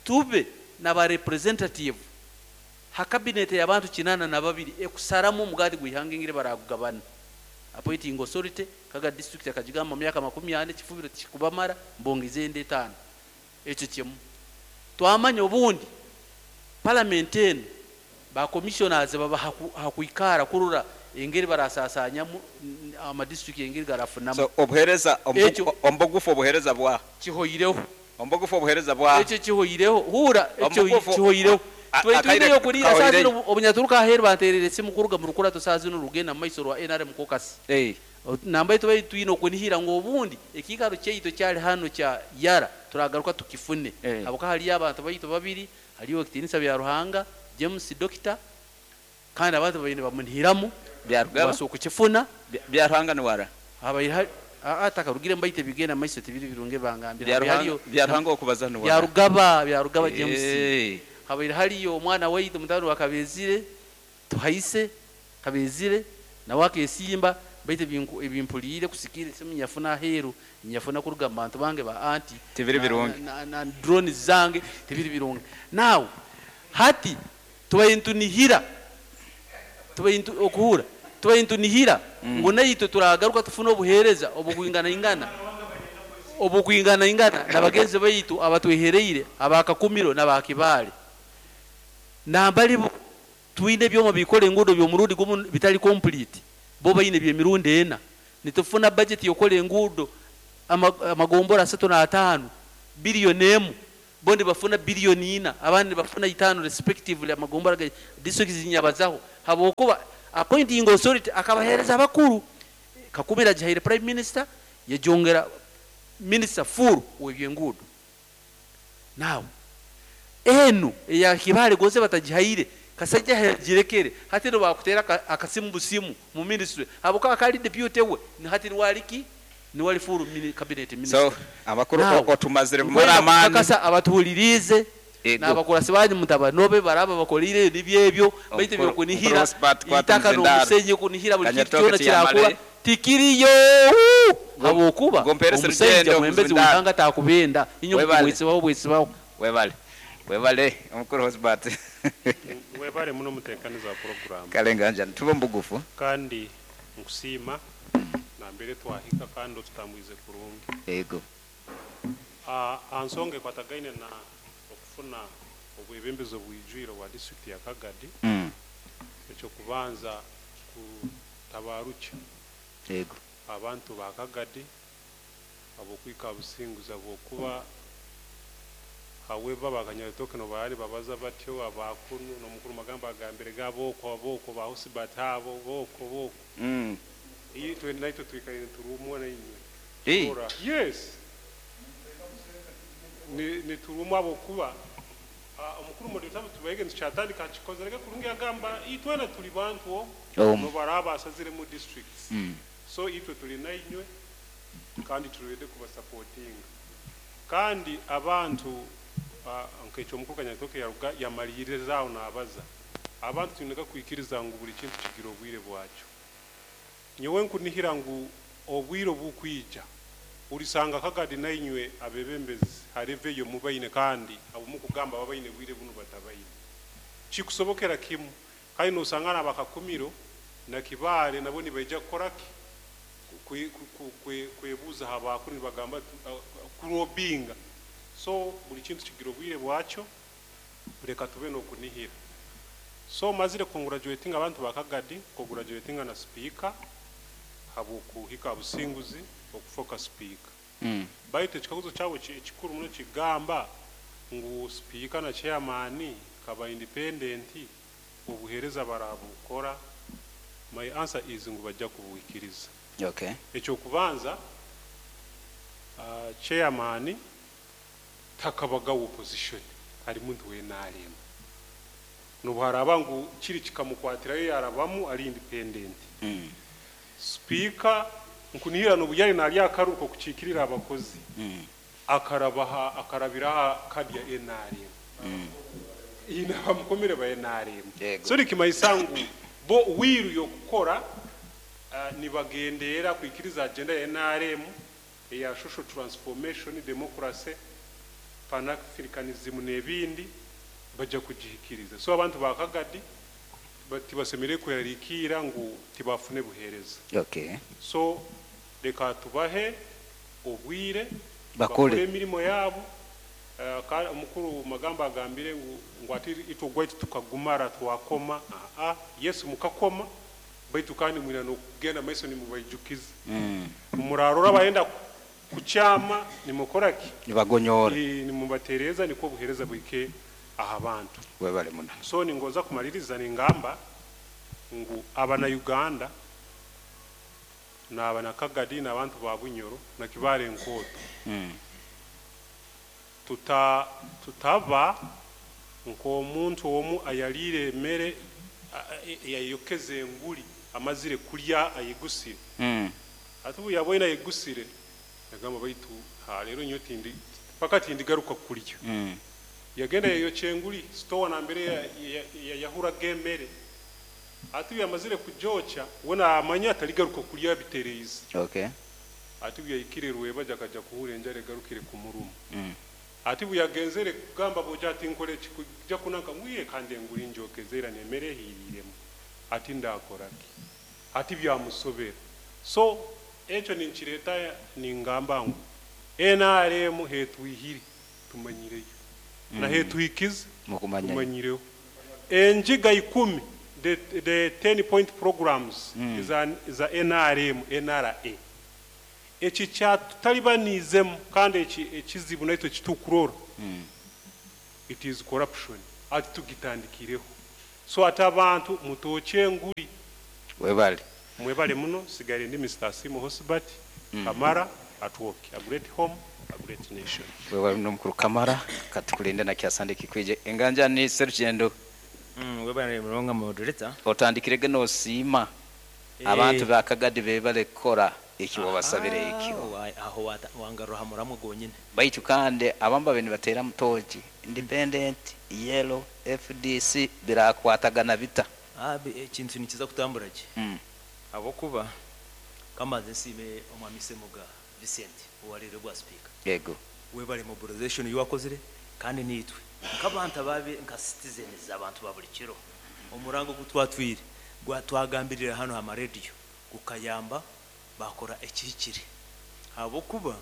tube naba representative ha cabinet y'abantu 82 ekusaramu omugati gwihanga engire baragugabana appointing authority Kaga district akagigamba mu myaka 40 kifubiro kikubamara mbongeze ende 5 ekyo kimu twamanya obundi parliament eno ba commissioners baba hakuikara kurura engeri barasasanyamu ama district engeri garafunamu. So obuhereza ombogufu obuhereza bwa kihoireho ombogufu obuhereza bwa ekyo kihoireho hura ekyo kihoireho twetuineyo kulira sazino obunyaturuka aheru banterere simu kuruga mu rukurato sazino rugenda mu maiso rwa NRM caucus nambaye tubaye twino okunihira ngo obundi ekikaro kyeito kyali hano kya yara turagaruka tukifune abuka hali abantu bayito babiri haliyo ekitinisa bya Ruhanga James Doctor kandi abantu bayine bamunihiramu byarugaba baso kukifuna bya Ruhanga ni wara abayi atakarugire mbayite bigenda maiso tibiri birunge bangambira haliyo bya Ruhanga okubaza ni wara byarugaba James habaire haliyo omwana waitu mutano wakabezire tuhaise kabezire nawe akesimba baite ebimpuliire kusikire simu nyafuna aheru nyafuna kuruga mu bantu bange ba anti tibiri birungi na drone zange tibiri birungi. Now hati tubaintunihira tubaintu okuhura tubaintunihira ngo naitwe turagaruka tufuna obuhereza obukwingana ingana obukwingana ingana nabagenzi baitu abatwehereire abakakumiro nabakibale nambali twine byoma bikole engudo byomurundi gumu bitali complete bo bayine byemirundi ena nitufuna budget yokola engudo amagombora 35 billion emu Bo nibafuna biliyoni 4, abandi nibafuna 5 respectively. Amagombora ga district zinyabazaho habwokuba appointing authority akabahereza abakuru. Kakumira agihaire prime minister, yajongera minister full w'ebyenguudo. Now enu eya Kibale gonze batagihaire Kasajja, yagirekere. Hati nibakutera akasimu busimu mu ministry habwokuba kali deputy we, hati niwaliki niwali full cabinet minister. So amakuru Now, otumazire bumara nkwenda amaani. kukakasa abatuhulirize Ego. n'abakurasi banyu mutabanobe baraba bakolire nibyo ebyo, baitu byokunihira Omukuru Osbert kwata itaka muzindaro. n'omusenyi kunihira buli kintu Kanyatoke kyona tiyamale. kirakura tikiriyo, habwokuba Gomperese omusajja rugendo mwembezi muzindaro. wihanga takubenda inyo Webale. bwesibaho bwesibaho. Webale, webale omukuru Osbert. Webale muno mutekaniza wa program. Kalenganja tuba mbugufu. Kandi nkusiima nambere twahika kandi otutambwize kurungi. Ego. Aha nsonga ekwatagaine na okufuna obwebembezi obwijwire bwa district ya Kagadi, ekyokubanza kutabarukya abantu ba Kagadi abokwika businguza bwokuba. However, bakanyabitoke no bari babaza batyo abakunu nomukuru magamba agambire gaboko aboko bahusibata abo boko boko. Iyi twe naitwe twikaire turumwa na inywe. Ora, yes, ni turumwa abokuba omukuru moderator tubaige ntikyatandika kikozerege kurungi agamba itwena tuli bantu no baraba asazire mu districts. So itwe tuli na inywe kandi turede kubasupportinga kandi abantu nkekyo omukuru Kanyatoke yaruga yamalirizaho nabaza abantu twineka kwikiriza ngu buli kintu kigira obwire bwakyo. Nyowe nkunihira ngu obwire obukwija ulisanga Kagadi nainywe abebembezi hariveyo mubaine kandi abumukugamba babaine bwire bunu batabaine kikusobokera kimu kandi nosanga nabakakumiro na Kibale nabo nibaija kukoraki kwebuuza habakuru nibagamba kurobinga. So buli kintu kigira obwire bwakyo, reka tube nokunihira. So mazire congratulating abantu ba Kagadi, congratulating na speaker habwokuhika businguzi okufoka speaker. Baitu ekikaguzo kyawe ekikuru muno kigamba ngu speaker na chairman kaba independent obuhereza barabukora. My answer is ngu bajja kubuhikiriza. Ekyokubanza, chairman takabaga opposition ari muntu wenarema nobuharaba ngu kiri kikamukwatirayo yarabamu ari independent. Speaker nkunihira nobuyari nali akaruko kuchikirira abakozi akarabaha akarabira kadi ya NRM. Ina bamukomere ba NRM. So likimayisangu bo wiru yokukora nibagendera kwikiriza agenda ya NRM eya social transformation, democracy, pan-africanism n'ebindi bajja kugihikiriza. So abantu ba Kagadi tibasemere kwerarikira ngu tibafune buhereza. So reka tubahe obwire Bakore. bakore emirimo yabo. Omukuru magamba agambire ngu ati itwe gwaitu tukagumara twakoma. Yesu mukakoma baitu kandi mwina nokugenda maiso nimubaijukiza. Murarora bayenda kukyama nimukoraki Nibagonyora. Nimubatereza niko buhereza bwike aha bantu. Webale muno. So ningoza kumaliriza ningamba ngu abana Uganda n'abana Kagadi n'abantu ba Bunyoro na Kibale Nkoto tutaba nk'omuntu omu ayalire emere yayokeze enguli amazire kulya ayegusire. Ati ubu yabonye ayegusire yagamba baitu ha rero nyo tindi paka tindi garuka kulya. Yagenda yayokye enguli store na mbere yahura gemere. Ati ubu yamazire kujocha wona amanya ataligaruka kulya bitereize. Ati ubu yayikire rweba jakaja kuhura enjare garukire ku murumo. Ati ubu yagenzere kugamba boja ati nkore kujja kunanka ngwiye kandi enguli njokezera nemere hiriremo. Ati ndakoraki. Ati byamusobera. So ekyo ninkireta ningamba ngu NRM hetwihire tumanyireyo. Na hetwikize Mukumanya. tumanyireyo. Enjiga 10 the 10 point programs za NRM NRA. Eki kyatutalibaniizemu kandi ekizibu naitwe kitukurora. It is corruption. Ati tugitandikireho. So ati abantu mutokye enguri. Webale. Mwebale muno. Sigale ndi Mr. Asimu Hosbert Kamara at work. A great home, a great nation. Webale muno mukuru Kamara, katukulinde na kyasande kikwije. Enganja ni Serugendo. Webale mulonga moderator. Otandikirege nosiima abantu bakagadi bebale kukora ekyo wabasabire ekyo. Aho wangaruha muramu gonyine. Baitu kandi abamba bene batera mutoji independent yellow FDC birakwatagana bita. Ekintu nikiza kutambura ki? Abokuba kamaze nsime omwami Semuga Vincent owarire gwa speaker. Yego. Webale mobilization yakozire kandi nitwe nkabantu ababe nka citizens abantu babuli kiro omurango gutwatwire gwatwagambirira hano ama radio gukayamba bakora ekihikire. Abokuba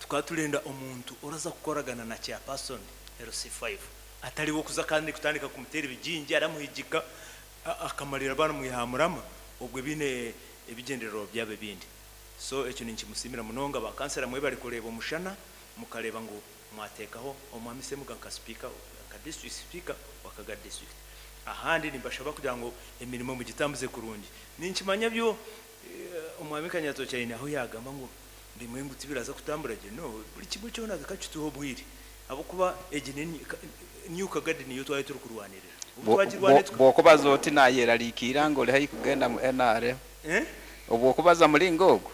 tukatulenda omuntu oraza kukoragana na chairperson LC5 ataliwo kuza kandi kutandika kumutera ibijinji aramuhigika akamalira bana muyihamurama obwe bine ebigenderero byabe bindi. So ekyo ninkimusimira munonga ba kansera mwe bali kureba omushana mukareba ngo mwatekaho omwami Semuga nka speaker nka district speaker wakaga district. Ahandi nimbashaba kugira ngo emirimo mugitambuze kurungi. Ninkimanya byo omwami Kanyato cyane aho yagamba ngo bimwe nguti biraza kutambura je no buri kimwe cyo naza kacituho bwiri abo kuba egi new Kagadi niyo twaye turi kurwanirira. Bwokubaza oti nayeraliikira ngo oli haihi kugenda mu NRM. Obwokubaza mulingo ogwo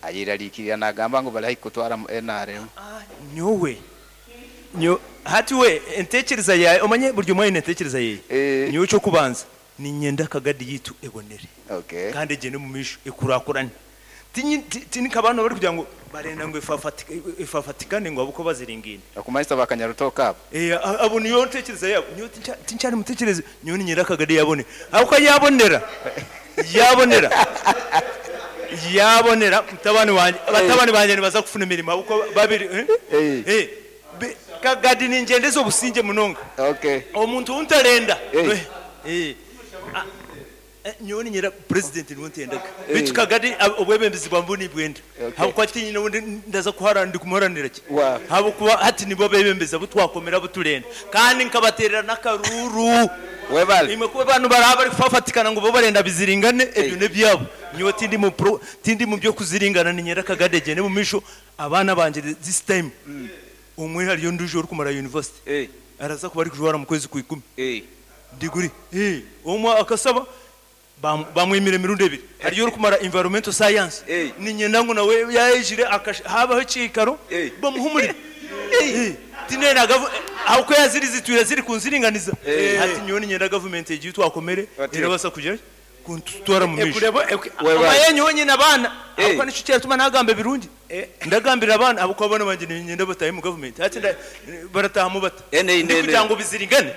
ayeraliikirira nagamba ngo bali haihi kutwara mu NRM. Nyowe hati we entekereza yawe omanye buri umwe entekereza ye nyowe cyo kubanza ni nyenda Kagadi yitu ebonere. Kandi egende mu misho ekurakurane. Tinika abantu bari kugira ngo barenda ngo ifafatikane ngo abuko baziringine. Akumanyisa bakanyarutoka abo. Abo niyo ntekereza yabo. Niyo tincyari mutekereze niyo ni nyira Kagadi yabone. Abuko yabonera. Yabonera. Yabonera mutabani wanje abatabani banje nibaza kufuna imirimo abuko babiri. Kagadi ni ngendezo businje munonga. Omuntu untarenda. Nyoni nyira president niwe ntendaga. Bitu Kagadi obwebembezi bwambuni bwenda. Habwo ati nyine ndaza kuharana ndi kumuharanira ki. Habo kuba hati nibo bebembeza butwakomera buturenda. Kandi nkabaterera nakaruru. Webale. Imwe kuba abantu baraba bari kufafatikana ngo bo barenda biziringane ebyo ne byabo. Nyowe tindi mu pro tindi mu byo kuziringana ni nyira Kagadi gene mu misho abana banje this time. Umwe hariyo nduje uri kumara university. Araza kuba ari kujwara mu kwezi ku 10. Ndiguri. Umwe akasaba bamwimire mirundi ebiri. Hariyo uri kumara environmental science. Ni nyenda ngo nawe yayijire habaho ikikaro bamuhumurire. Tinena aho yazirizitura ziri kunziringaniza. Hati nyoni nyenda government egiye twakomere irabasa kugera kuntutwara mu misho. Amayenyo wenyine abana aho nico cyatuma nagamba birungi. Ndagambira abana abo kwabona banje nyenda bataye mu government. Hati barataha mu bata. Kugira ngo biziringane.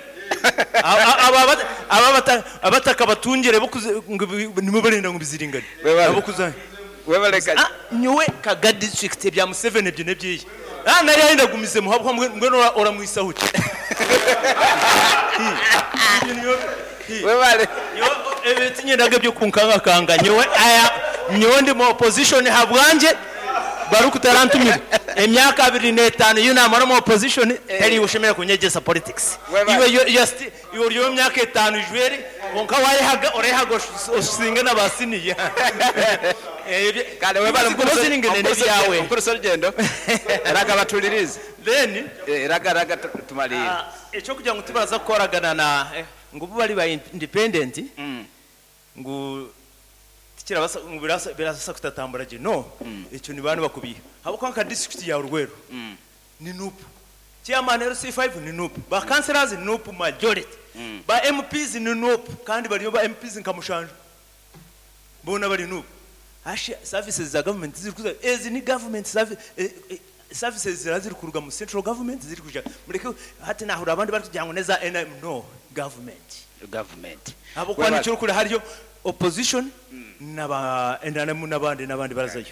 Abataka batungere nimwe barenda ngo biziringane. Abo kuzanye. Webaleka. Nyowe Kagadi district bya Museveni byo nebyiye. Nari yenda gumize muhabwa mwe ora mwisahuke. Webale. Nyowe tinyendaga byo kunkanga kanga nyowe aya nyowe ndi mu opposition habwanje baruku tarantumira. Emyaka 25 yuna mu opposition teri ushemera kunyegesa politics. Iwe just iwe yo myaka 5 jweri konka wayehaga orehaga osinga nabasiniye. Kale webale mukuru byawe. Mukuru Serugendo. Raga batulirize. Then raga tumalire. Echo kugira ngo tubaraza kukoragana na ngo bari ba independent ngo tikirabasa ngo birasa kutatambura je no icyo ni bantu bakubiye habo kwa district ya Rweru ni NUP chairman LC5 ni NUP ba councillors ni NUP majority ba MPs ni NUP kandi bariyo ba MPs nkamushanje bona bari NUP hashi services za government ziri kuza ezi ni government service services ziri kuruga mu central government ziri kuja mureke hati nahura abandi bari kugira ngo neza NM no government abo kwa nicyo kuri hariyo opposition naba NRM nabandi nabandi barazayo.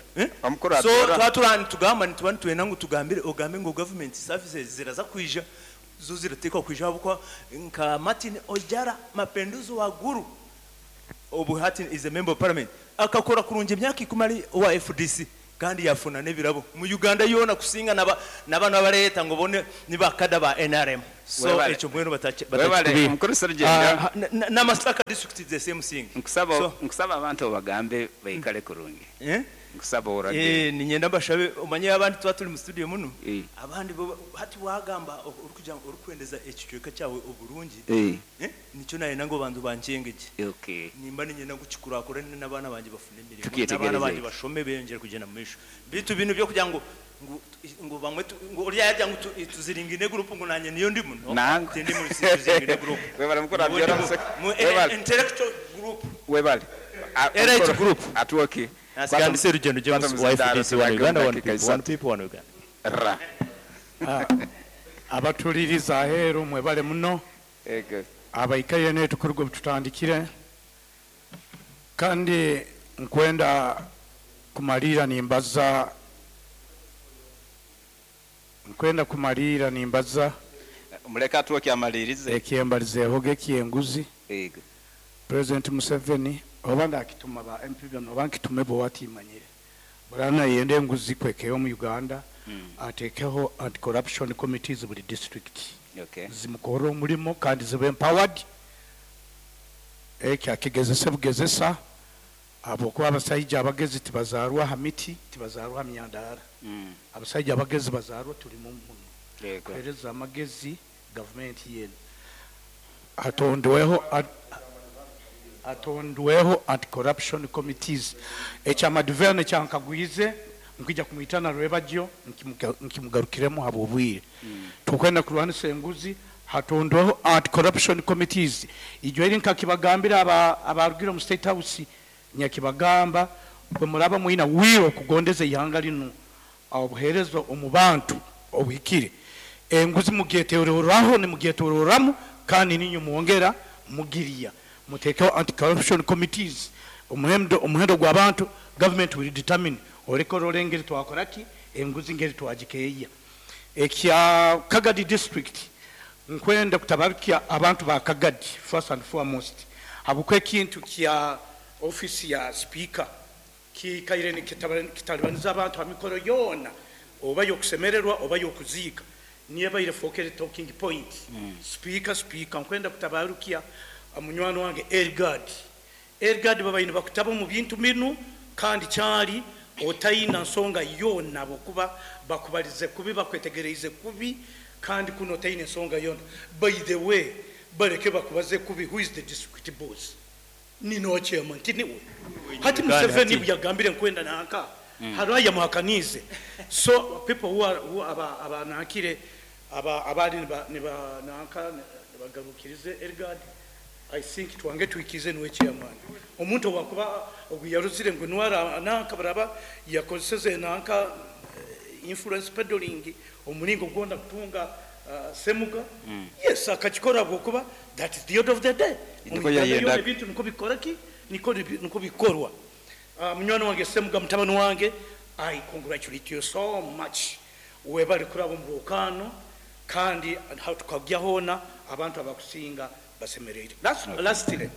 So twaturani tugamba nitubani tuena ngo tugambire ogambe ngo government services ziraza kwija zo ziratekwa kwija abo nka Martin Ojara Mapenduzo wa Guru obu Martin is a member of parliament akakora kurunge imyaka 10 ari wa FDC Kandi yafuna n'ebirabo mu Uganda yoona kusinga naba nabano abareeta ngu bo ni bakada ba NRM. So Webale. ekyo mbwenu Webale, batakikubiiha. Mukuru Serugendo. Na Masaka district is the same thing. Nkusaba So nkusaba abantu obagambe baikale kurungi. Eh? Nkusaba orage. Ninyenda mbashabe, omanye abandi tuba turi mu studio muno, Eh. abandi bo hati wagamba orikugira orikwendeza ekicweka kyawe oburungi, nikyo nayenda ngu abantu bankyengegye. Nimba ninyenda ngu kikurakurane n'abaana bangye bafune emirimo, Tukyetegereze. n'abaana bangye bashome beyongyere kugyenda mu maisho. Bitu binu byokugira ngu ngu bamwe ngu orya yajya ngu tuziringine group ngu nanye niyo ndimu, no. Nangu. Tindi muri tuziringine group. Webale mukuru Niwe Abiola ndimu. Webale. Intellectual group. Webale. Elite group. Atuoki. Nasigandise Rugendo James, wa FDC, one Uganda, one people, one people, one Uganda. Ra. Abatuliriza aheeru mwebale muno. Ego. Abaikaire netukuruga tutandikire, kandi nkwenda kumalira nimbaza, nkwenda kumalira nimbaza. Muleka atuoki amalirize. Ekyembalizeeho gekyenguzi. Ego. President Museveni oba ndakituma ba MP bano oba nkitume bo watimanyire burana yende enguzi kwekeyo mu Uganda, atekeho anti-corruption committees buli district, zimukore omulimo kandi zibe empowered. Ekyo akigezese bugezesa, habwokuba abasaija abagezi tibazaarwa ha miti, tibazaarwa ha myandara. Abasaija abagezi bazaarwa tuli muno. Kuhereza amagezi gavumenti yenu, atondweho anti-corruption committees. Ekyamadiverne kyankagwize nkwija kumwitana rwebagyo nkimugarukiremu habwobwire. Tukwenda kurwanisa enguzi, hatondweho anti-corruption committees. Ijo eri nkakibagambira abarugire omu State House, nyakibagamba bwe muraba mwina wiro okugondeza ihanga linu, obuheereza omu bantu obuhikire, enguzi mugyeteroraho nimugyetororamu, kandi ninyo mwongera mugiriya. Mutekeho anti-corruption committees, omuhendo gw'abantu government will determine oreka engeri twakora ki, enguzi ngeri twagikeeya. Ekya Kagadi district, nkwenda kutabarukia abantu ba Kagadi first and foremost, habwokuba ekintu kya office ya speaker kikaire kitalibaniza abantu ha mikoro yoona, oba yokusemererwa oba yokuziika, niyo ebaire fokere talking point. Speaker, speaker, nkwenda kutabarukia munywani wange Elgad. Elgad babaine bakutaba mu bintu binu, kandi kyali otayina nsonga yonna, bwokuba bakubalize kubi, bakwetegereize kubi, kandi kuno otayina ensonga yonna. By the way, baleke bakubaze kubi, who is the district boss? Nino chairman tiniwe hati Uganda Museveni hati. yagambire nkwenda nanka hariho yamuhakanize. So people who are who aba abanankire aba abali niba nanka nibagarukirize Elgad, I think twange twikize niwe chairman. Omuntu wakuba oguyaruzire ngu nwara nanka baraba yakozeseze nanka influence peddling omulingo gwonda kutunga Semuga. Yes, akakikora bwokuba that is the end of the day. Niko Mu Uganda yayenda. yona ebintu niko bikora ki, niko bikorwa. Munywani wange Semuga, mutabani wange, I congratulate you so much. Webale kuraba mu lwokano, kandi aho tukajya hona abantu abakusinga basemereire. Lastly,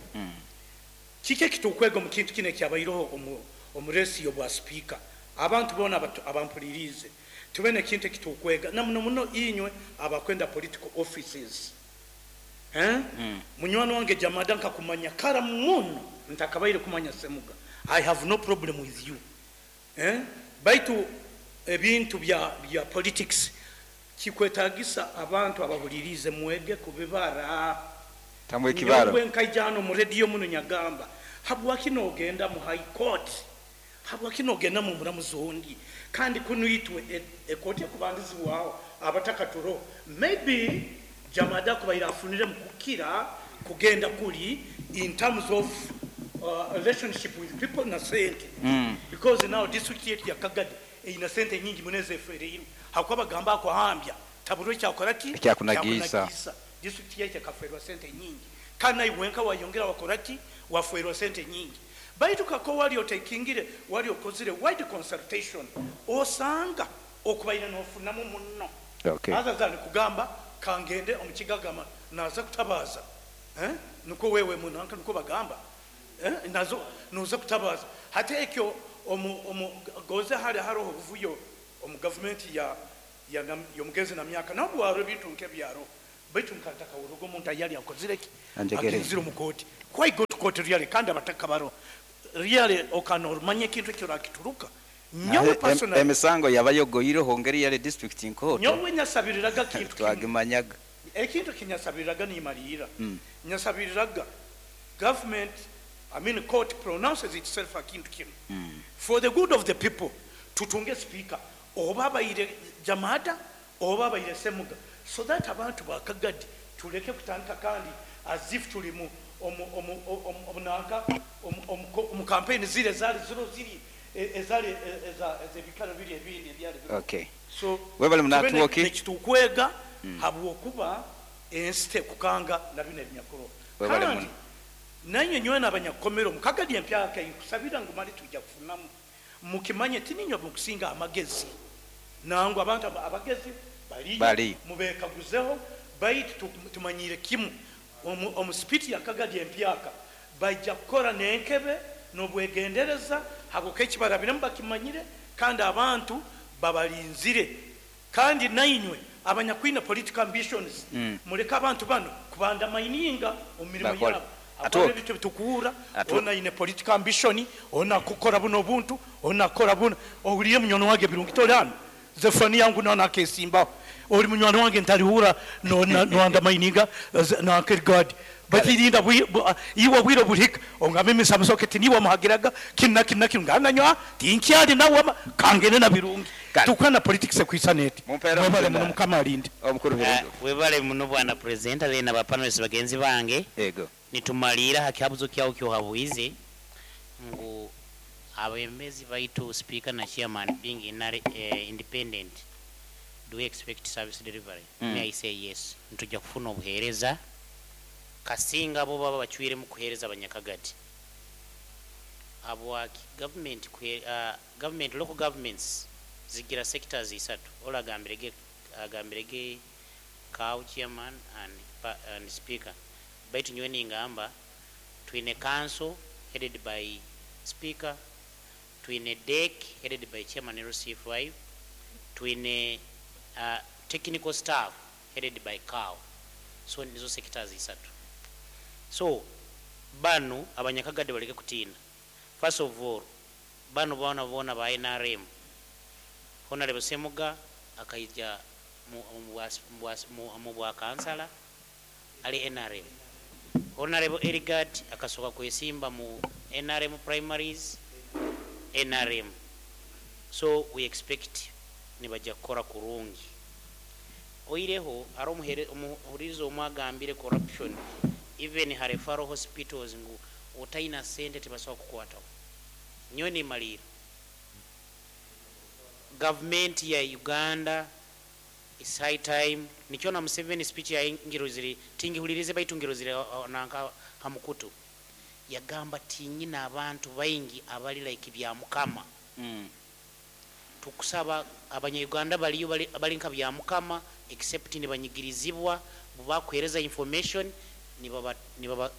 kiki ekitukwega omu kintu kino ekyabaireho omuresiyo bwa speaker? Abantu boona abampuliriize, tube nekintu ekitukwega na muno muno inywe abakwenda political offices. Eh? Munywani wange Jamada, nkakumanya kara muno ntakabaire kumanya Semuga. I have no problem with you. Eh? Baitu ebintu bya politics kikwetagisa abantu abahulirize mwege kubibara. Tamwe kibaro. Nyowe nkaija hano mu radio muno nyagamba, habwaki nogenda mu high court, habwaki nogenda mu muramuzi ondi, kandi kuno itwe ekooti ekubandizibwaho abatakaturo. Maybe Jamada kubaire afunire mu kukira kugenda kuli in terms of relationship with people na sente, because now district yetu ya Kagadi erina sente nyingi muneze efereirwe, hakuba bagamba akuhambya taburo kyakora ki. Ekyakunagisa. Ekyakunagisa. District yetu ekaferwa sente nyingi, kandi naiwe wayongera wakora ki, waferwa sente nyingi. Baitu kako wali otekingire, wali okozire wide consultation, osanga okubaire nofunamu muno. Other than kugamba kangende omukigagama naza kutabaza, eh? Niko wewe munanka niko bagamba. Nazo noza kutabaza hati ekyo omu omu goze hali haroho obuvuyo omu gavumenti ya ya y'omugezi na myaka nabwo haro ebintu nk'ebyaro baitu nkantakawuruga omuntu ayali akozireki Anjegere. agenzire omu kooti. Why go to court really? Kandi abataka baro really okana orumanye ekintu ekyo rakituruka nyowe personally. Emisango yabayogoireho ngeri yali district nkoto. Nyowe nyasabiriraga kintu twagimanyaga. Ekintu kinyasabiriraga nimalira nyasabiriraga government, I mean court pronounces itself akintu kinu for the good of the people. Tutunge speaker oba abaire Jamada oba abaire Semuga, so that abantu bakagadi tuleke kutandika kandi as if tuli mu omu nanka omu campaign zile zali ziro ziri ezali ezebikalo biri ebindi ebyali biriho. So Webale tube munatuwoki. nekitukwega habwokuba ensi tekukanga na bino ebinyakuro. Webale kandi muno. Nanye nyowe n'abanyakukomero mukagadi empyaka nkusabira ngu mali tujja kufunamu mukimanye tininywe mukusinga amagezi nangu abantu abagezi baliyo. Baliyo. Mubekaguzeho baitu tumanyire kimu omu sipiti ya Kagadi empyaka bajja kukora n'enkebe n'obwegendereza habwokuba ekibarabiremu bakimanyire kandi abantu babalinzire. Kandi nainywe abanyakwina political ambitions, muleke abantu bano kubanda maininga omu mirimu Bakole. yabo. Atuoke. Akora ebintu bitukuura ona ine political ambition, ona kukora buno obuntu, ona kukora buno ohulire munywani wange Birungi toli hano zefani yangu nona akesimbaho oli munywani wange ntalihura noandamaininga nankegadi batirinda iwe bwire bulihika ongambe emisamusoke tiniwe muhagiraga kinu na kinu na kinu ngananywa tinkyali nawe kangene na Birungi tukwana politics ekwisa neti. Mumpeera mwebale omuzindalo. Muno mukama alinde. Omukuru. Webale muno bwana president bena ba panelists bagenzi bange. Yego. Nitumalira hakihabuzo kyawo kyohabwize ngu abembezi baitu speaker na chairman being independent, do we expect service delivery? May I say yes, ntujja kufuna obuheereza kasinga bo baba bacwiremu kuheereza abanyakagadi habwaki government government, local governments zigira sectors isatu. Ola agambirege cow chairman and speaker baitu nyowe ningamba twine council headed by speaker, twine DEC headed by chairman LC5, twine technical staff headed by cow. So nizo sectors isatu. So bano abanyakagadi baleke kutiina. First of all, bano bona bona ba NRM, Honorable Semuga akaija mu bwa kansala ali NRM, Honorable Erigad akasoka kwesimba mu NRM primaries NRM. So we expect nibajja kukora kurungi. Oireho ari omuhurizo omwe agambire corruption even ha referral hospitals ngu otaina sente tebasobola kukwataho. Nyowe nimalira gavumenti ya Uganda is high time nikyo na Museveni speech ya ngirozire tingihulirize baitu ngirozire nanka hamukutu yagamba tinyina abantu baingi abali like bya mukama. Tukusaba abanyayuganda baliyo bali nka bya mukama except nibanyigirizibwa bubakwereza information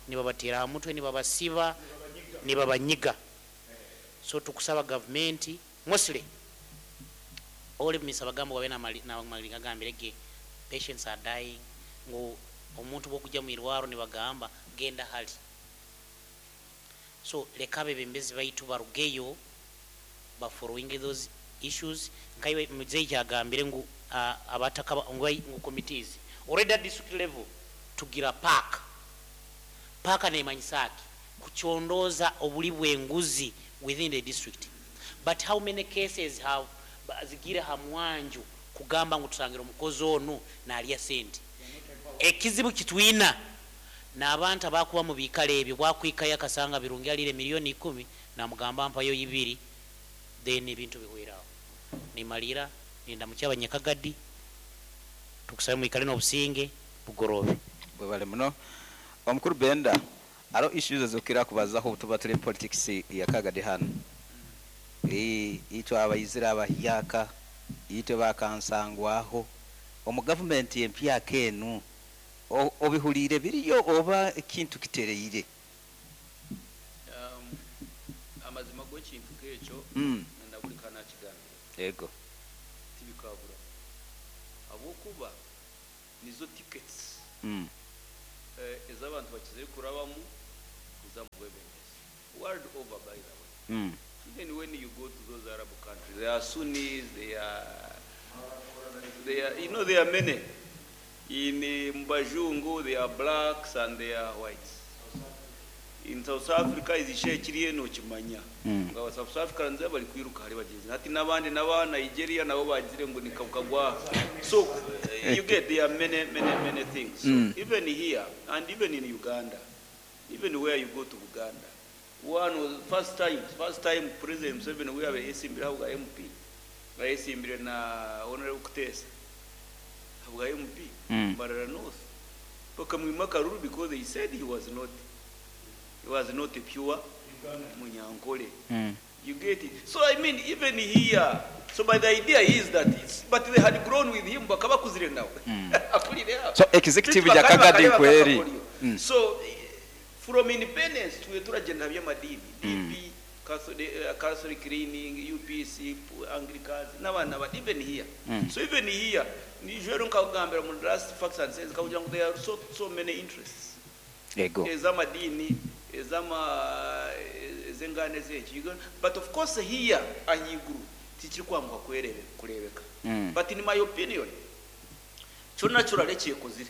nibabatera mutwe nibabasiba nibabanyiga. So tukusaba government mostly oli misabagambo wabe na mali agambirege patients are dying ngu omuntu bwokujja mu irwaro nibagamba genda hali. So leka abebembezi baitu barugeyo ba following those issues nkaiwe muzeyi kyagambire ngu abataka ngu committees already at district level tugira park park nemanyisaki kuchondoza obuli bw'enguzi within the district. But how many cases have zigira hamwanju kugamba ngu tusangira omukozi ono nalya sente? Ekizibu kitwina n'abantu abakuba mu biikalo ebyo bwakwikayo akasanga Birungi alire miliyoni 10 namugamba mpayo 2 then ebintu bihwerawo. Nimalira nindamukya abanyakagadi tukusabe mwikale n'obusinge bugorobe. Webale muno omukuru Benda. Aro issues ezokira kubazaho tuba tuli politics ya Kagadi hano itwe abayizira abahyaka itwe bakansangwaho omu gavumenti empyaka enu obihulire biriyo oba ekintu kitereire? gw'ekintu nk'ekyo, na buri kanakigambira. Yego. Tibikabura habwokuba nizo tickets ez'abantu bakizire kurabamu kuza mu bwebembezi world over, by the way. Even when you go to those Arab countries, there are Sunnis, they are there are many. In Mbajungu, there are blacks and there are whites. In South Africa, izishe kiriye nokimanya. Nga aba South Africans bari kwiruka hari bagenzi. Hati n'abandi n'aba Nigeria nabo bagire ngo ni kagwa. So you get, there are many, many, many things. So even here and even in Uganda, even where you go to Uganda, one was first time President Museveni we have yesimbira bwa MP. Yesimbire na Honorable Kutesa bwa MP, Mbarara North. Bakamwima akaruru because they said he was not a pure Munyankole. You get it? So I mean, even here, so but the idea is that it's, but they had grown with him, bakabakuzire nawe. Akulire aho. So executive Bityo ya bakaba Kagadi bakareba kweri. kakakoryo. So from independence tuwe turagenda by'amadini, DP, Catholic leaning, UPC, Anglicans, n'abana ba even here. So even here, nijoro nkagambira mu last facts and sense kakugira ngo there are so many interests Yego. Ez'amadini, ez'ama ez'enganda z'eki. But of course here ahiguru tikiri kwanguha kurebeka. But in my opinion, kyo naturally kyekozire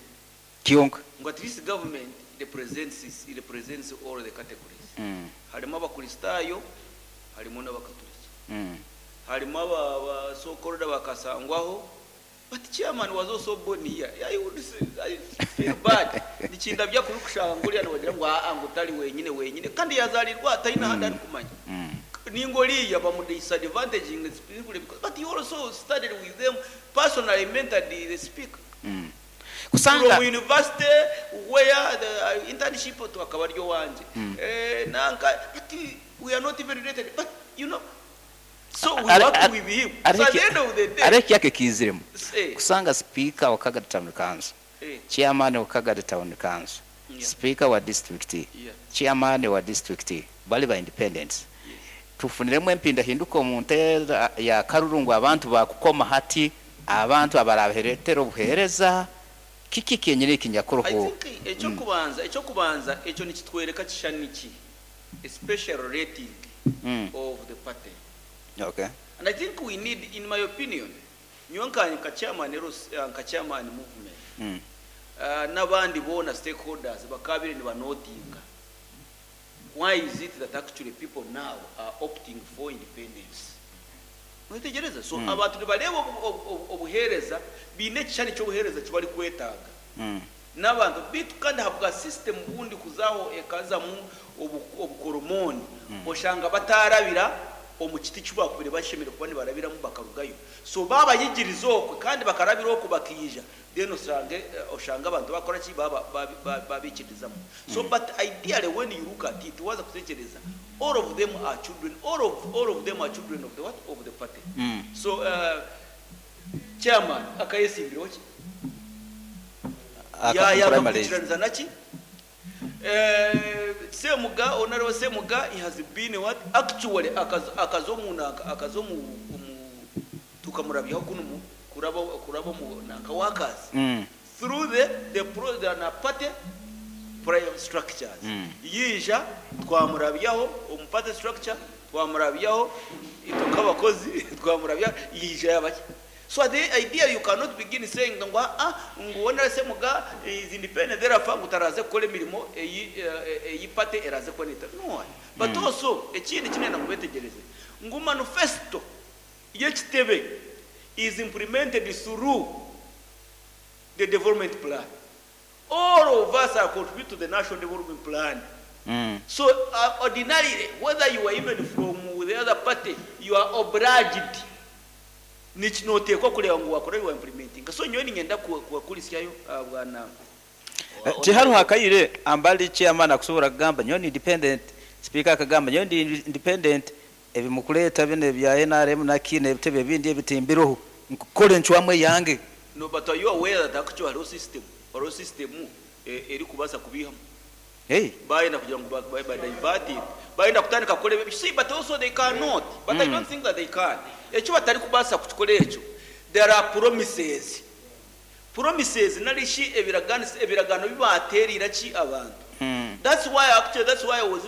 Kyonka. Ngo at least government represents all the categories. Harimo Abakristayo, harimo n'Abakatoliki, harimo aba so-called bakasangwaho, but chairman was also born here. I would say, I feel bad nikinda byakuri kushanga nguriya nibagira ngo aa ngo utari wenyine wenyine kandi yazalirwa atari n'ahandi ari kumanya ningoliya bamu disadvantaging simply because, but he also studied with them, personally mentored the speaker Kusanga from university where the internship to akaba aryo wanje. Nanka, but we are not even related, but so we work with him. So at the end of the day, areki yake kiziremu. Eh. Kusanga speaker wa Kagadi Town Council, chairman wa Kagadi Town Council, speaker wa district, chairman wa district bali ba independence. Tufuniremu empindahinduka omu nteera ya karurungu, abantu bakukoma hati abantu abarabaheretera obuheereza kiki kenyini I ekinyakuruho. think ekyokubanza ekyo nikitwereka kishani ki a special rating of the party. And I think we need, in my opinion, nyowe nka chairman nka chairman movement, n'abandi bona stakeholders bakabire nibanotinga why is it that actually people now are opting for independence. Mwitegereza, so abantu nibareba obuheereza biine ekishani ky'obuheereza kibari kwetaaga n'abantu bitu kandi habwa system bundi kuzaho ekazamu obukoromoni, oshanga batarabira omu kiti kibakubire bashemere kuba nibarabiramu bakarugayo, so babayigiriza okwe kandi bakarabira okwo bakija, then osange oshanga abantu bakora ki babikirizamu. So but ideally, when you look at it, waza kutekereza, all of them are children, all of them are children of the what, of the party. So chairman akayesimbiraho ki Primaries. Yakakurikiraniza naki? Semuga, Honorable Semuga, he has been what, actually akazo mu nanka akazo mu tukamurabyaho kuno mu kuraba mu nanka workers through the pro the na party prime structures. Yija twamurabyaho omu party structure, twamurabyaho itukabakozi twamurabya yija yabaki. So the idea, you cannot begin saying ngo ah ngo wona Semuga is independent, therefore ngo taraze gukora emirimo eyi party eraze kuboneta no. But also ekindi kinene kubetegereze ngo manifesto y'ekitebe is implemented through the development plan. All of us are contribute to the national development plan. So ordinarily, whether you are even from the other party, you are obliged, nikinoteekwa kureba ngu wakora, you are implementing. So nyowe ningenda kuwakulisyayo bwana. Tihariho hakayire ambali chairman akusobola kugamba nyowe ni independent, speaker akagamba nyowe ndi independent, ebimukuleeta bino ebya NRM naki n'ebitebe ebindi ebitimbireho nkukora encwamu eyange. No, but are you aware that actually hariho system eri kubaasa kubihamu? Hey. Bayenda kugira ngu ba diverting, bayenda kutandika kukora ebyo. See, but also they cannot, but I don't think that they can. Ekyo batari kubaasa kukikora ekyo, there are promises nari shi ebiragano, ebiragano bibaterire ki abantu. That's why actually, that's why I was even